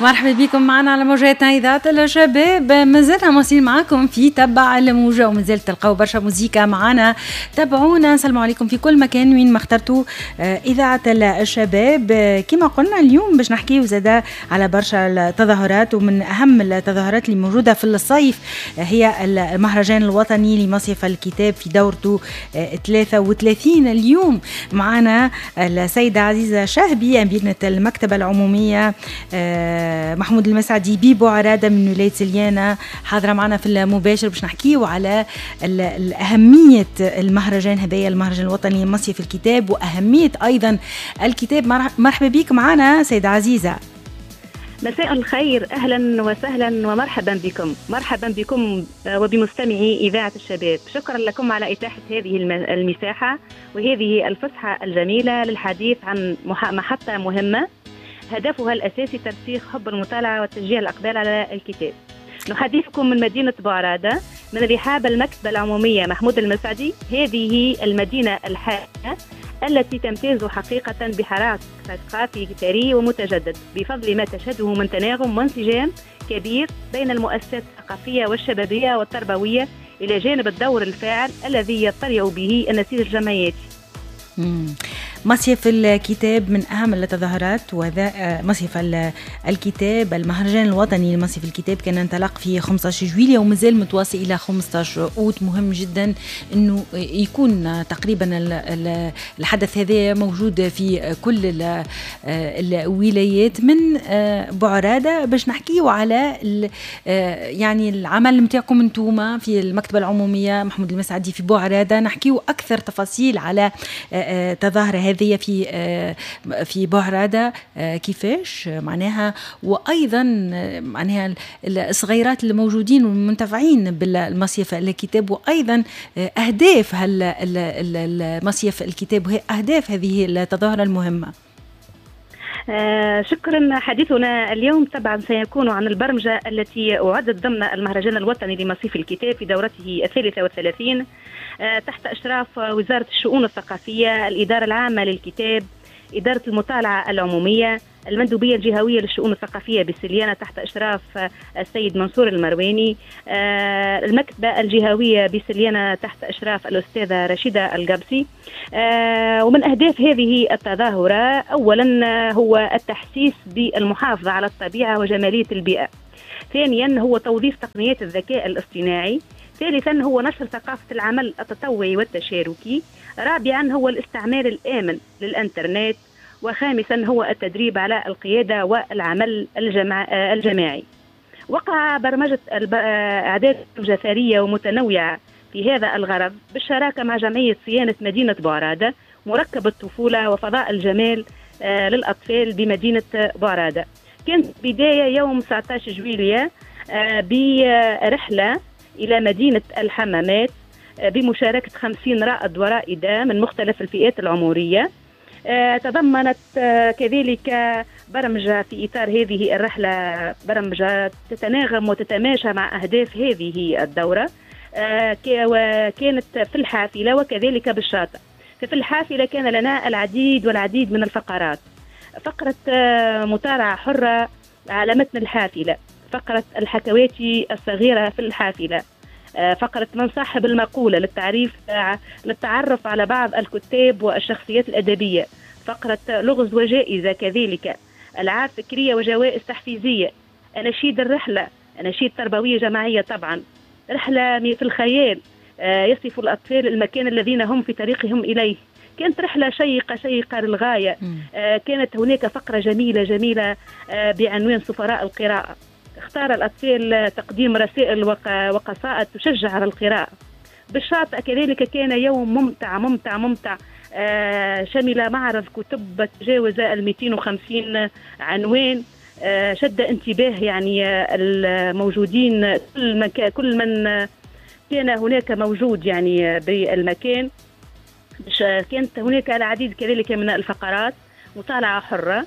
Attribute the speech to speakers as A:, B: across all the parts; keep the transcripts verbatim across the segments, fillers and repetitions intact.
A: مرحبا بكم معنا على موجاتنا إذاعة الشباب. مازلنا مواصلين معاكم في تبع الموجة ومازال تلقاو برشا موزيكا معنا، تابعونا. نسلموا عليكم في كل مكان وين ما اخترتوا إذاعة الشباب. كما قلنا اليوم باش نحكيو زادا على برشا التظاهرات، ومن أهم التظاهرات اللي موجودة في الصيف هي المهرجان الوطني لمصيف الكتاب في دورته ثلاثة وثلاثين. اليوم معنا السيدة عزيزة شهبي أمينة المكتبة العمومية محمود المسعدي ببوعرادة من ولاية سليانة، حاضرة معنا في المباشر باش نحكيو على أهمية المهرجان هذايا، المهرجان الوطني لمصيف الكتاب، وأهمية أيضا الكتاب. مرحبا بك معنا سيدة عزيزة.
B: مساء الخير، أهلا وسهلا ومرحبا بكم. مرحبا بكم وبمستمعي إذاعة الشباب. شكرا لكم على إتاحة هذه المساحة وهذه الفسحة الجميلة للحديث عن محطة مهمة هدفها الأساسي ترسيخ حب المطالعة وتشجيع الأقبال على الكتاب. نحدثكم من مدينة بوعرادة من رحاب المكتبة العمومية محمود المسعدي، هذه المدينة الحائرة التي تمتاز حقيقة بحراك ثقافي ثري ومتجدد بفضل ما تشهده من تناغم وانسجام كبير بين المؤسسات الثقافية والشبابية والتربوية، إلى جانب الدور الفاعل الذي يطلع به النسيج الجمعياتي.
A: مصيف الكتاب من أهم التظاهرات، وذا مصيف الكتاب المهرجان الوطني لمصيف الكتاب كان انطلق في خمسة عشر جويلية ومازال متواصل إلى خمسة عشر أوت. مهم جدا أنه يكون تقريبا الحدث هذا موجود في كل الولايات. من بوعرادة باش نحكيو على يعني العمل نتاعكم انتوما في المكتبة العمومية محمود المسعدي في بوعرادة، نحكيو أكثر تفاصيل على تظاهرة هذه في في بوعرادة كيفاش معناها، وايضا معناها الصغيرات اللي موجودين والمنتفعين بالمصيف الكتاب، وايضا اهداف المصيف الكتاب وهي اهداف هذه التظاهرة المهمة.
B: آه شكرا. حديثنا اليوم طبعا سيكون عن البرمجة التي أعدت ضمن المهرجان الوطني لمصيف الكتاب في دورته الثالثة والثلاثين آه تحت إشراف وزارة الشؤون الثقافية، الإدارة العامة للكتاب، إدارة المطالعة العمومية، المندوبية الجهوية للشؤون الثقافية بسليانة تحت إشراف السيد منصور المرواني، المكتبة الجهوية بسليانة تحت إشراف الأستاذة رشيدة القبسي. ومن أهداف هذه التظاهرة أولا هو التحسيس بالمحافظة على الطبيعة وجمالية البيئة، ثانيا هو توظيف تقنيات الذكاء الاصطناعي، ثالثا هو نشر ثقافة العمل التطوعي والتشاركي، رابعا هو الاستعمال الآمن للإنترنت، وخامسا هو التدريب على القيادة والعمل الجماع الجماعي. وقع برمجة أعداد ثرية ومتنوعة في هذا الغرض بالشراكة مع جمعية صيانة مدينة بوعرادة، مركب الطفولة وفضاء الجمال للأطفال بمدينة بوعرادة. كانت بداية يوم تسعة عشر جويلية برحلة إلى مدينة الحمامات بمشاركة خمسين رائد ورائدة من مختلف الفئات العمرية. تضمنت كذلك برمجة في إطار هذه الرحلة، برمجة تتناغم وتتماشى مع أهداف هذه الدورة، وكانت في الحافلة وكذلك بالشاطئ. ففي الحافلة كان لنا العديد والعديد من الفقرات، فقرة مطالعة حرة على متن الحافلة، فقرة الحكواتي الصغيرة في الحافلة، فقرة من صاحب المقولة للتعريف للتعرف على بعض الكتاب والشخصيات الأدبية، فقرة لغز وجائزة، كذلك ألعاب فكرية وجوائز تحفيزية، أناشيد الرحلة، أناشيد تربوية جماعية طبعا، رحلة في الخيال يصف الأطفال المكان الذين هم في طريقهم إليه. كانت رحلة شيقة شيقة للغاية. كانت هناك فقرة جميلة جميلة بعنوان سفراء القراءة، اختار الأطفال تقديم رسائل وقصائد تشجع على القراءة. بالشاطئ كذلك كان يوم ممتع ممتع ممتع، آه شمل معرض كتب تجاوز ال مئتين وخمسين عنوان، آه شد انتباه يعني الموجودين، كل من كل من كان هناك موجود يعني بالمكان. كانت هناك العديد كذلك من الفقرات، مطالعة حرة،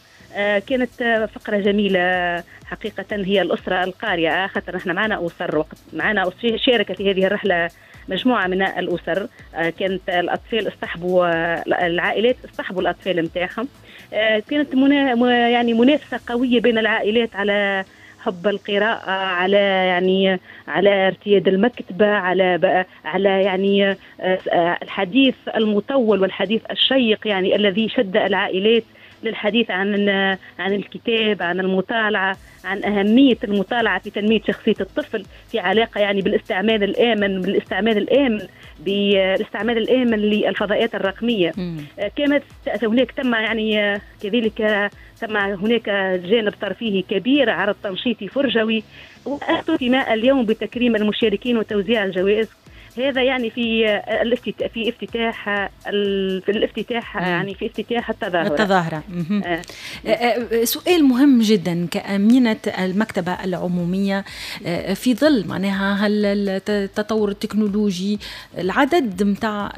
B: كانت فقرة جميلة حقيقة، هي الأسرة القارئة، خاطر نحن معنا أسر وقت معنا شاركت في هذه الرحلة مجموعة من الأسر، كانت الأطفال اصطحبوا، العائلات اصطحبوا الأطفال متاعهم. كانت منا يعني منافسة قوية بين العائلات على حب القراءة، على يعني على ارتياد المكتبة، على على يعني الحديث المطول والحديث الشيق يعني الذي شد العائلات للحديث عن عن الكتاب، عن المطالعة، عن أهمية المطالعة في تنمية شخصية الطفل، في علاقة يعني بالاستعمال الآمن بالاستعمال الآمن بالاستعمال الآمن للفضاءات الرقمية. كانت هناك تم يعني كذلك تم هناك جانب ترفيهي كبير، عرض تنشيطي فرجوي، واختتم اليوم بتكريم المشاركين وتوزيع الجوائز. هذا يعني في الافتتاح في افتتاح في الافتتاح يعني في افتتاح التظاهرة.
A: التظاهرة. آه. سؤال مهم جدا كأمينة المكتبة العمومية، في ظل معناها التطور التكنولوجي، العدد متاع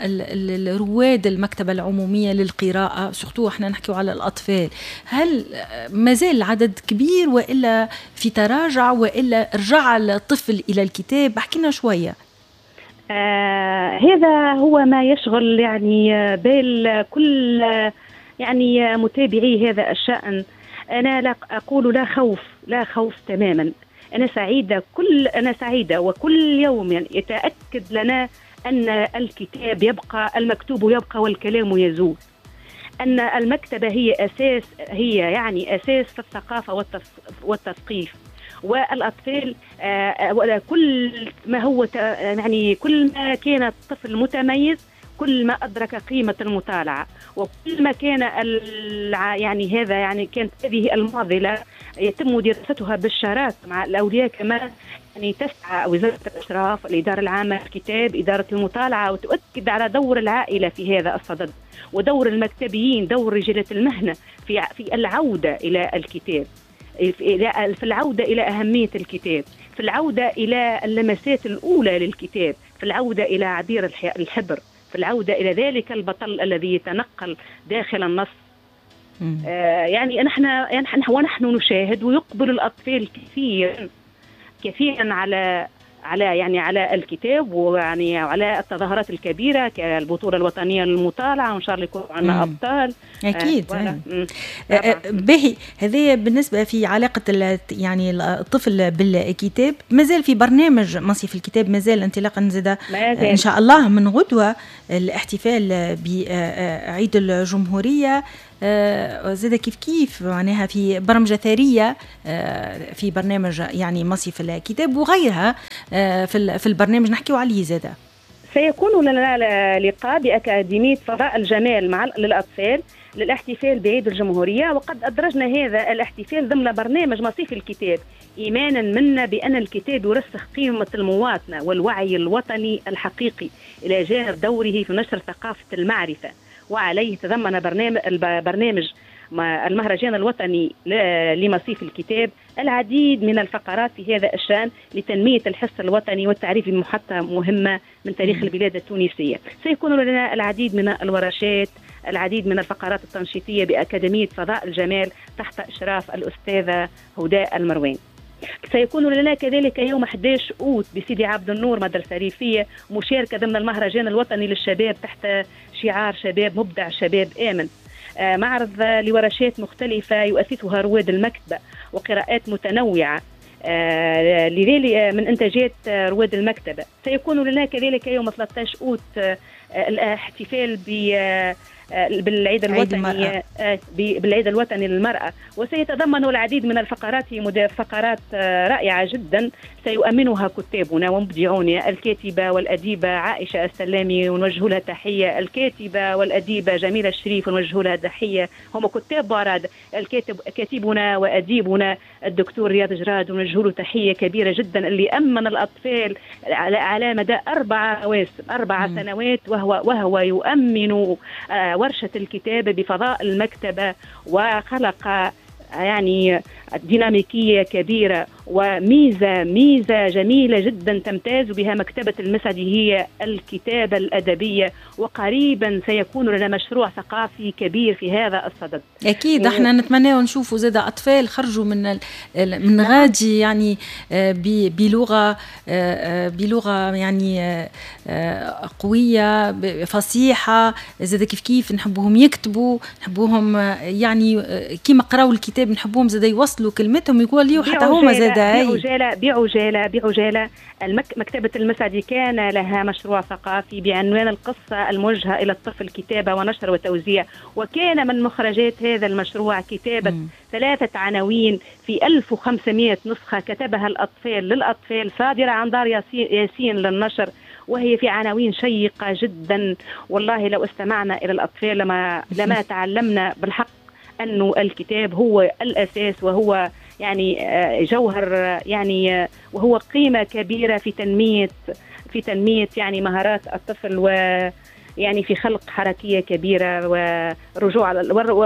A: رواد المكتبة العمومية للقراءة، surtout احنا نحكيو على الأطفال، هل مازال العدد كبير وإلا في تراجع وإلا رجع الطفل إلى الكتاب؟ احكينا شوية.
B: آه هذا هو ما يشغل يعني بال كل يعني متابعي هذا الشأن. أنا لا أقول لا خوف، لا خوف تماما. أنا سعيدة كل أنا سعيدة وكل يوم يعني يتأكد لنا أن الكتاب يبقى، المكتوب يبقى والكلام يزول، أن المكتبة هي أساس، هي يعني أساس في الثقافة والتثقيف. والأطفال آه كل ما هو يعني كل ما كان الطفل متميز كل ما أدرك قيمة المطالعة، وكل ما كان يعني هذا يعني كانت هذه المعضلة يتم دراستها بالشراكة مع الأولياء، كما يعني تسعى وزارة الإشراف، الإدارة العامة للكتاب، إدارة المطالعة، وتؤكد على دور العائلة في هذا الصدد، ودور المكتبيين، دور رجالات المهنة في في العودة إلى الكتاب، في العودة إلى أهمية الكتاب، في العودة إلى اللمسات الأولى للكتاب، في العودة إلى عبير الحبر، في العودة إلى ذلك البطل الذي يتنقل داخل النص. آه يعني نحن ونحن نشاهد ويقبل الأطفال كثيرا كثيرا على على يعني على الكتاب، ويعني على التظاهرات الكبيرة كالبطوله الوطنية للمطالعه، وان شاء الله يكون عندنا ابطال
A: اكيد. آه آه باهي. هذه بالنسبة في علاقة يعني الطفل بالكتاب. مازال في برنامج مصيف الكتاب، مازال انطلاقا زاد ان شاء الله من غدوه الاحتفال بعيد الجمهورية، زاد كيف كيف معناها في برمجة ثرية في برنامج يعني مصيف الكتاب وغيرها في في البرنامج نحكيو عليه زاد.
B: سيكون لنا لقاء بأكاديمية فضاء الجمال مع للأطفال للاحتفال بعيد الجمهورية، وقد أدرجنا هذا الاحتفال ضمن برنامج مصيف الكتاب، إيمانا منا بأن الكتاب يرسخ قيمة المواطنة والوعي الوطني الحقيقي إلى جانب دوره في نشر ثقافة المعرفة. وعليه تضمن برنامج برنامج المهرجان الوطني لمصيف الكتاب العديد من الفقرات في هذا الشأن لتنمية الحس الوطني والتعريف بمحطة مهمة من تاريخ البلاد التونسية. سيكون لنا العديد من الورشات، العديد من الفقرات التنشيطية بأكاديمية فضاء الجمال تحت إشراف الأستاذة هدى المروان. سيكون لنا كذلك يوم أحد عشر أوت بسيدي عبد النور مدرسة ريفية مشاركة ضمن المهرجان الوطني للشباب تحت شعار شباب مبدع شباب آمن، معرض لورشات مختلفة يؤسسها رواد المكتبة وقراءات متنوعة لذلك من إنتاجات رواد المكتبة. سيكون لنا كذلك يوم ثلاثة عشر أوت الاحتفال ب بالعيد الوطني بالعيد الوطني للمرأة، وسيتضمن العديد من الفقرات، فقرات رائعة جدا سيؤمنها كتابنا ومبدعونا، الكاتبة والأديبة عائشة السلامي ونوجه لها تحية، الكاتبة والأديبة جميلة الشريف ونوجه لها تحية، هم كتاب باراد، الكاتب كاتبنا وأديبنا الدكتور رياض جراد ونوجه له تحية كبيرة جدا اللي أمن الأطفال على على مدى أربع مواسم أربع سنوات وهو وهو يؤمن ورشة الكتابة بفضاء المكتبة، وخلق يعني ديناميكية كبيرة وميزة ميزة جميلة جدا تمتاز بها مكتبة المسعدي هي الكتابة الأدبية، وقريبا سيكون لنا مشروع ثقافي كبير في هذا الصدد.
A: أكيد احنا نتمنى نشوفوا زاد أطفال خرجوا من من غادي يعني بلغة بلغة يعني قوية فصيحة، زاد كيف كيف نحبوهم يكتبوا، نحبوهم يعني كيما قراوا الكتاب نحبوهم زاد يوصلوا كلمتهم يقولوا حتى هما زاد.
B: بعجالة بعجالة بعجالة المك... مكتبة المسعدي كان لها مشروع ثقافي بعنوان القصة الموجهة إلى الطفل، كتابة ونشر وتوزيع، وكان من مخرجات هذا المشروع كتابة م. ثلاثة عناوين في ألف وخمسمائة نسخة كتبها الأطفال للأطفال، صادرة عن دار ياسين, ياسين للنشر، وهي في عناوين شيقة جدا. والله لو استمعنا إلى الأطفال لما, لما تعلمنا بالحق أنه الكتاب هو الأساس، وهو يعني جوهر، يعني وهو قيمة كبيرة في تنمية في تنمية يعني مهارات الطفل، و يعني في خلق حركية كبيرة، ورجوع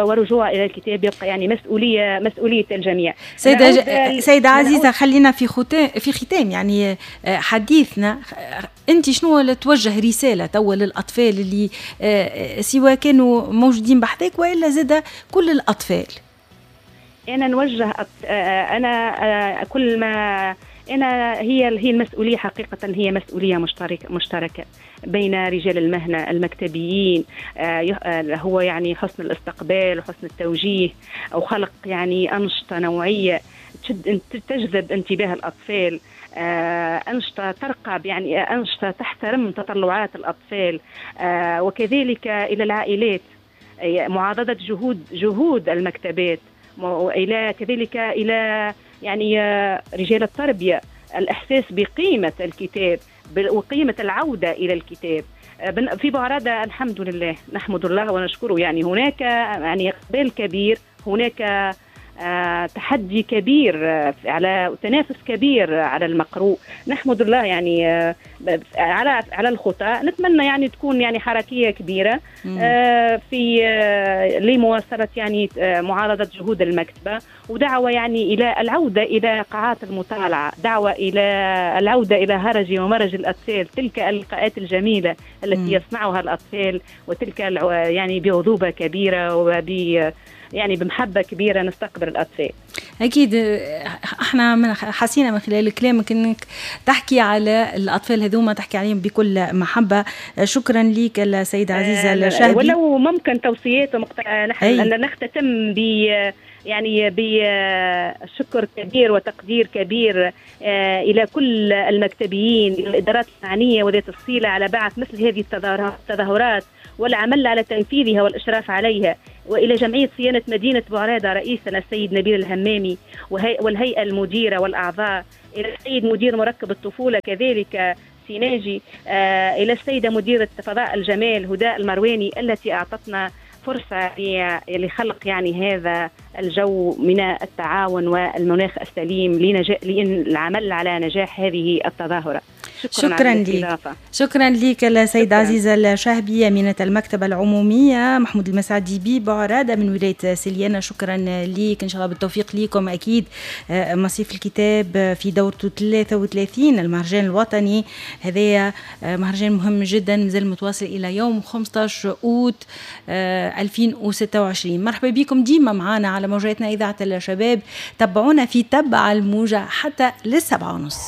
B: ورجوع إلى الكتاب يبقى يعني مسؤولية مسؤولية الجميع.
A: سيدة سيدة عزيزة، خلينا في ختام في ختام يعني حديثنا، أنت شنو توجه رسالة توا للأطفال اللي سواء كانوا موجودين بحذاك وإلا زاد كل الأطفال؟
B: أنا نوجه أنا كل ما أنا هي هي المسؤولية حقيقة هي مسؤولية مشتركة مشتركة بين رجال المهنة المكتبيين، هو يعني حسن الاستقبال وحسن التوجيه، أو خلق يعني أنشطة نوعية تجذب انتباه الأطفال، أنشطة ترقب يعني أنشطة تحترم تطلعات الأطفال، وكذلك إلى العائلات معاضدة جهود جهود المكتبات، وإلى كذلك إلى يعني رجال التربية الإحساس بقيمة الكتاب وقيمة العودة إلى الكتاب. في بوعرادة الحمد لله نحمد الله ونشكره، يعني هناك يعني إقبال كبير، هناك تحدي كبير على تنافس كبير على المقروء، نحمد الله يعني على على الخطى. نتمنى يعني تكون يعني حركية كبيرة في لمواصلة يعني معارضة جهود المكتبة، ودعوة يعني إلى العودة إلى قاعات المطالعة، دعوة إلى العودة إلى هرج ومرج الأطفال، تلك اللقاءات الجميلة التي يصنعها الأطفال، وتلك يعني بعذوبة كبيرة وب يعني بمحبة كبيرة نستقبل الأطفال.
A: أكيد احنا من حسينا من خلال كلامك انك تحكي على الأطفال هذوما، تحكي عليهم بكل محبة. شكرا لك السيدة عزيزة الشهبي.
B: ولو ممكن توصيات ومقت... نحن نختتم ب يعني بشكر كبير وتقدير كبير إلى كل المكتبيين، إلى الإدارات المعنية وذات الصلة على بعث مثل هذه التظاهرات والعمل على تنفيذها والإشراف عليها، وإلى جمعية صيانة مدينة بوعرادة رئيسنا السيد نبيل الهمامي والهيئة المديرة والأعضاء، إلى السيد مدير مركب الطفولة كذلك سيناجي، إلى السيدة مديرة فضاء الجمال هداء المرواني التي أعطتنا فرصة لخلق يعني هذا الجو من التعاون والمناخ السليم للعمل على نجاح هذه التظاهرة.
A: شكرا, شكرا لك شكرا لك السيدة عزيزة الشهبي، أمينة المكتبة العمومية محمود المسعدي ببوعرادة من ولاية سليانة. شكرا لك، إن شاء الله بالتوفيق لكم. أكيد مصيف الكتاب في دورته ثلاثة وثلاثين المهرجان الوطني، هذا مهرجان مهم جدا مازال متواصل إلى يوم خمسة عشر أوت ألفين وستة وعشرين. مرحبا بكم ديما معنا على موجاتنا إذاعة الشباب، تبعونا في تبع الموجة حتى للسبعة ونص.